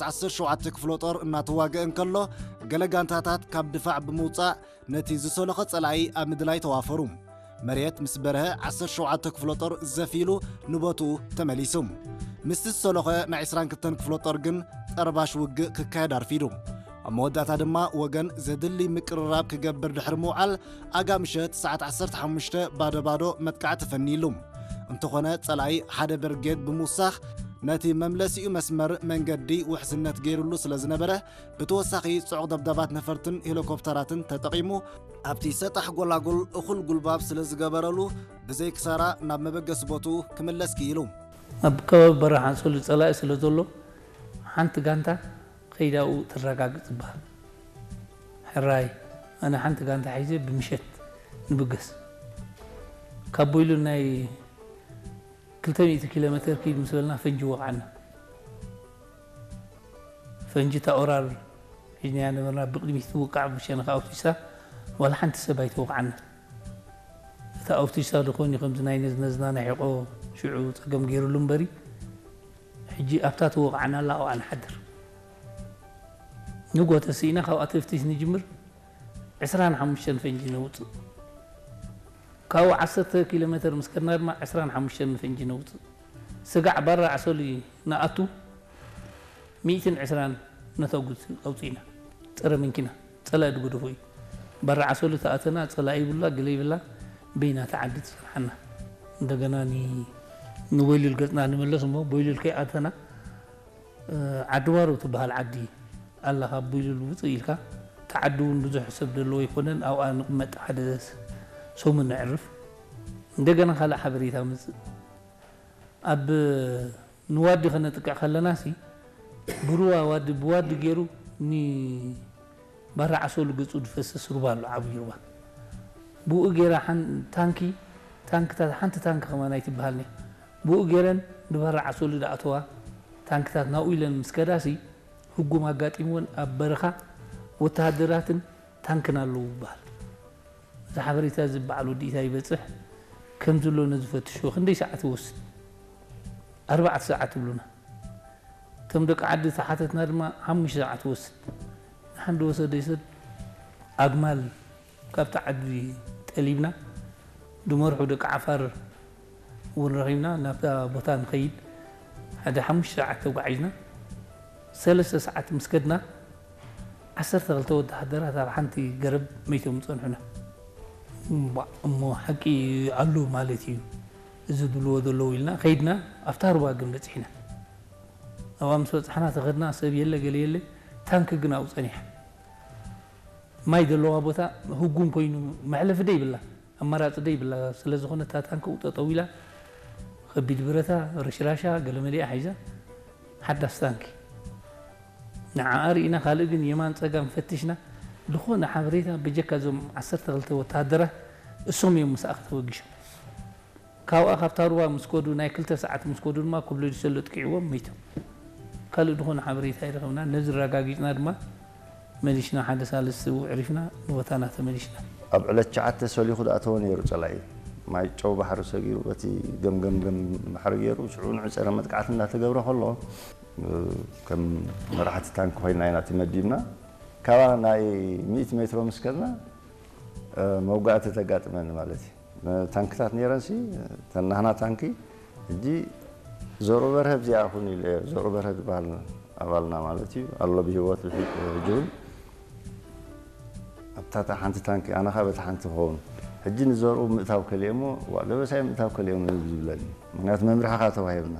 ዓሰርተ ሸውዓተ ክፍለ ጦር እናተዋግአ እንከሎ፣ ገለ ጋንታታት ካብ ድፋዕ ብምውጻእ ነቲ ዝሰለኸ ጸላኢ ኣብ ምድላይ ተዋፈሩ። መሬት ምስ በርሀ ዓሰርተ ሸውዓተ ክፍለ ጦር ዘፍ ኢሉ ንቦትኡ ተመሊሱ። ምስቲ ዝሰለኸ ናይ ዕስራን ክልተን ክፍለ ጦር ግን ጠርባሽ ውግእ ክካየድ ኣርፊዱ። ኣብ መወዳእታ ድማ ወገን ዘድሊ ምቅርራብ ክገብር ድሕሪ ምውዓል፣ ኣጋ ምሸት ሰዓት ዓሰርተ ሓሙሽተ ባዶ ባዶ መጥቃዕቲ ፈንይሉ። እንተኾነ ጸላኢ ሓደ ብርጌድ ብምውሳኽ ነቲ መምለሲኡ መስመር መንገዲ ውሕስነት ገይሩሉ ስለ ዝነበረ፣ ብተወሳኺ ጽዑቕ ደብዳባት ነፈርትን ሄሊኮፕተራትን ተጠቒሙ ኣብቲ ሰጣሕ ጎላጉል እኹል ጉልባብ ስለ ዝገበረሉ፣ ብዘይ ክሳራ ናብ መበገሲ ቦትኡ ክምለስ ክኢሉ። ኣብ ከባቢ በረኻ ኣንሶሊ ጸላኢ ስለ ዘሎ፣ ሓንቲ ጋንታ ከይዳኡ ትረጋግጽ ይበሃል። ሕራይ፣ ኣነ ሓንቲ ጋንታ ሒዘ ብምሸት ንብገስ። ካብ ቦይሉ ናይ ክልተ ሚእቲ ኪሎ ሜተር ኪድ ምስ በልና ፈንጂ ወቕዓና። ፈንጂ እታ ኦራል ሒዝናያ ነበርና፣ ብቕድሚት ትውቃዕ ብሸነኻ ኣውቲሳ፣ ዋላ ሓንቲ ሰብ ኣይተወቕዓና። እታ ኣውቲሳ ዝኾን እዩ ከምዚ ናይ ነዝነዝና ናይ ሕቖ ሽዑ ጸገም ገይሩሉ እምበሪ፣ ሕጂ ኣብታ ትወቕዓና ኣላ ኣብኣ ንሓድር። ንጎ ተስኢና ካብኣ ተፍቲሽ ንጅምር፣ ዕስራን ሓሙሽተን ፈንጂ ነውጽእ። ካብኡ ዓሰርተ ኪሎ ሜተር ምስ ከድና ድማ ዕስራን ሓሙሽተን ፈንጂ ነውጽእ። ስጋዕ ባራ ኣሶሊ ንኣቱ ሚእትን ዕስራን ነተጉት ኣውጺእና። ጸረ መኪና፣ ጸላኢ ዝገደፎ እዩ። ባራ ኣሶሊ ተኣተና፣ ጸላኢ ይብላ፣ ገለ ይብላ፣ በይና ተዓዲ ትጸንሓና። እንደገና ኒ-፣ ንቦይሉል ገጽና ንመለስ እሞ፣ ቦይሉል ከይኣተና፣ እ፣ ዓዲ ዋሮ ትበሃል ዓዲ ኣላ፣ ካብ ቦይሉል ውጽእ ኢልካ። እቲ ዓዲ እውን ብዙሕ ሰብ ዘለዎ ኣይኮነን፣ ኣብኣ ንቕመጥ፣ ሓደ ሰሙን ነዕርፍ። እንደገና ካልእ ሓበሬታ መጽእ። ኣብ ንዋዲ ከነጥቅዕ ከለና ሲ፣ ብሩባ ዋዲ፣ ብዋዲ ገይሩ ኒ-፣ ባራ ዓሶሉ ገጹ ዝፈስስ ሩባ ኣሎ፣ ዓብዪ ሩባ። ብኡ ገይራ ሓን-፣ ታንኪ፣ ታንክታት፣ ሓንቲ ታንኪ ከማን ኣይትበሃልን እያ። ብኡ ገይረን ንባራ ዓሶሉ ዝኣተዋ ታንክታት ናብኡ ኢለን ምስ ከዳሲ፣ ህጉም ኣጋጢምወን ኣብ በረኻ ወተሃደራትን ታንክን ኣለዉ ይበሃል። እዚ ሓበሬታ እዚ በዓል ወዲ ኢታይ ይበጽሕ፣ ከም ዘሎ ነዚ ፈትሾ፣ ክንደይ ሰዓት ይወስድ? ኣርባዕተ ሰዓት ይብሉና። እቶም ደቂ ዓዲ ተሓተትና ድማ ሓሙሽተ ሰዓት ይወስድ። ንሓንዲ ወሰደ ይሰድ ኣግማል ካብቲ ዓዲ ጠሊብና፣ ድመርሑ ደቂ ዓፋር እውን ረኺብና፣ ናብታ ቦታ ንኸይድ ሓደ ሓሙሽተ ሰዓት ተጓዒዝና። ሰለስተ ሰዓት ምስ ከድና፣ ዓሰርተ ክልተ ወተሃደራት ኣብ ሓንቲ ገረብ መይቶም ጸንሑና። እምቧ፣ እሞ ሓቂ ኣሎ ማለት እዩ፣ እዚ ዝብልዎ ዘለዉ ኢልና ከይድና፣ ኣብታ ሩባ ግን በጺሕና። ኣብኣ ምስ በጻሕና፣ ተኸድና፣ ሰብ የለ፣ ገለ የለ፣ ታንኪ ግን ኣብኡ ጸኒሓ። ማይ ዘለዋ ቦታ ህጉም ኮይኑ፣ መሕለፊ ደይብላ፣ ኣማራጺ ደይብላ ስለ ዝኾነ፣ እታ ታንኪ ኣብኡ ጠጠው ኢላ፣ ከቢድ ብረታ፣ ረሽራሻ፣ ገለ መሊኣ ሒዛ፣ ሓዳስ ታንኪ። ንዓኣ ርኢና፣ ካልእ ግን የማን ጸጋም ፈቲሽና፣ ዝኾነ ሓበሬታ ብጀካ እዞም ዓሰርተ ክልተ ወተሃደራት፣ እሶም እዮም ምስኣ ተወጊሾም። ካብኣ፣ ካብታ ሩባ ምስ ከዱ፣ ናይ ክልተ ሰዓት ምስ ከዱ ድማ፣ ኮብለዲሶ ለጥቂዕዎም መይቶም። ካልእ ዝኾነ ሓበሬታ ኣይረኸብና። ነዚ ኣረጋጊጽና ድማ፣ መሊሽና ሓደ ሳልስቲ እዕሪፍና፣ ንቦታና ተመሊሽና። ኣብ ዕለት ትሽዓተ ሰሊኹ ዝኣተወ ነይሩ ጸላኢ። ማይ ጨው ባሕሪ ሰጊሩ፣ በቲ ገምገምገም ባሕሪ ገይሩ፣ ሽዑ ንዑ ጸረ መጥቃዕቲ እንዳተገብረ ከሎ፣ ከም መራሕቲ ታንኪ ኮይና ኢና ተመዲብና። ካባ ናይ ሚእቲ ሜትሮ ምስ ከድና፣ እ፣ መውጋእቲ ተጋጥመኒ ማለት እዩ። ታንክታት ነይረንሲ፣ ተን ናህና ታንኪ፣ ሕጂ ዘርኡ በርሀ ኣብዚኣ ኩን ኢሉ እየ። ዘርኡ በርሀ ዝበሃል ኣባልና ማለት እዩ፣ ኣሎ ብህይወት ብሒ-፣ ሕጂ እውን። ኣብታ እታ ሓንቲ ታንኪ፣ ኣነ ኸኣ በታ ሓንቲ ክኸውን። ሕጂ ንዘርኡ ምእታው ከልየ እሞ፣ "ዋ፣ ደበሳይ ምእታው ከልየ እሞ" ዝብለኒ። ምኽንያቱ መምርሒ ኸኣ ተዋሂብና።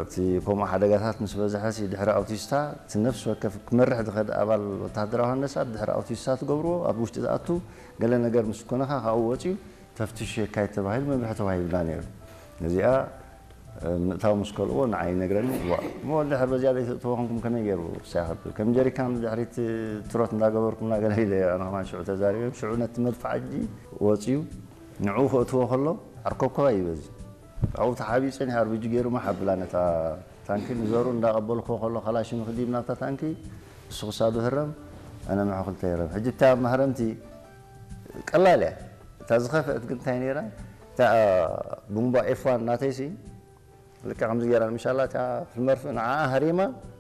እቲ ከምኡ ሓደጋታት ምስ በዝሐ ሲ፣ ድሕሪ ኣውቲስታ፣ እቲ ነፍሲ ወከፍ ክመርሕ ዝኸድ ኣባል ወተሃደራዊ ሃንደሳ ድሕሪ ኣውቲስታ ትገብርዎ፣ ኣብ ውሽጢ ዝኣቱ ገለ ነገር ምስ ኮነኻ ካብኡ ወጺኡ ተፍትሽ የካይድ ተባሂሉ መምርሒ ተዋሂብና ነይሩ። ነዚኣ፣ እ፣ ምእታው ምስ ከልእዎ ንዓይ ይነግረኒ፣ "ዋ፣ እሞ ድሕር በዚኣ ዘይተእትዎ ኮንኩም ከመይ ገይሩ ሳይኸብል? ከም ጀሪካን ድሕሪት ትሮት እንዳገበርኩምና" ገለ ኢለ ኣነ ከማን ሽዑ ተዛሪበ። ሽዑ ነቲ መድፍዓጂ ወጺኡ ንዕኡ ከእትዎ ከሎ ዓርከብከባ እዩ በዚ። ኣብኡ ተሓቢኡ ጸኒሑ ኣርቢጂ ገይሩ ማሕ ኣብላ ነታ ታንኪ ንዘሩ እንዳቐበልክዎ ከሎ ካላሽን ክዲብ ናብታ ታንኪ፣ እሱ ክሳዱ ህረም፣ ኣነ ምሑ ክልተ ይረም። ሕጂ እታ ማህረምቲ ቀላል እያ። እታ ዝኸፍአት ግን እንታይ ነይራ? እታ ቡምባ ኤፍ ዋን ናተይሲ ልክዕ ከምዚ ገይራ ንምሻላ እታ መርፍእ ንዓኣ ሃሪማ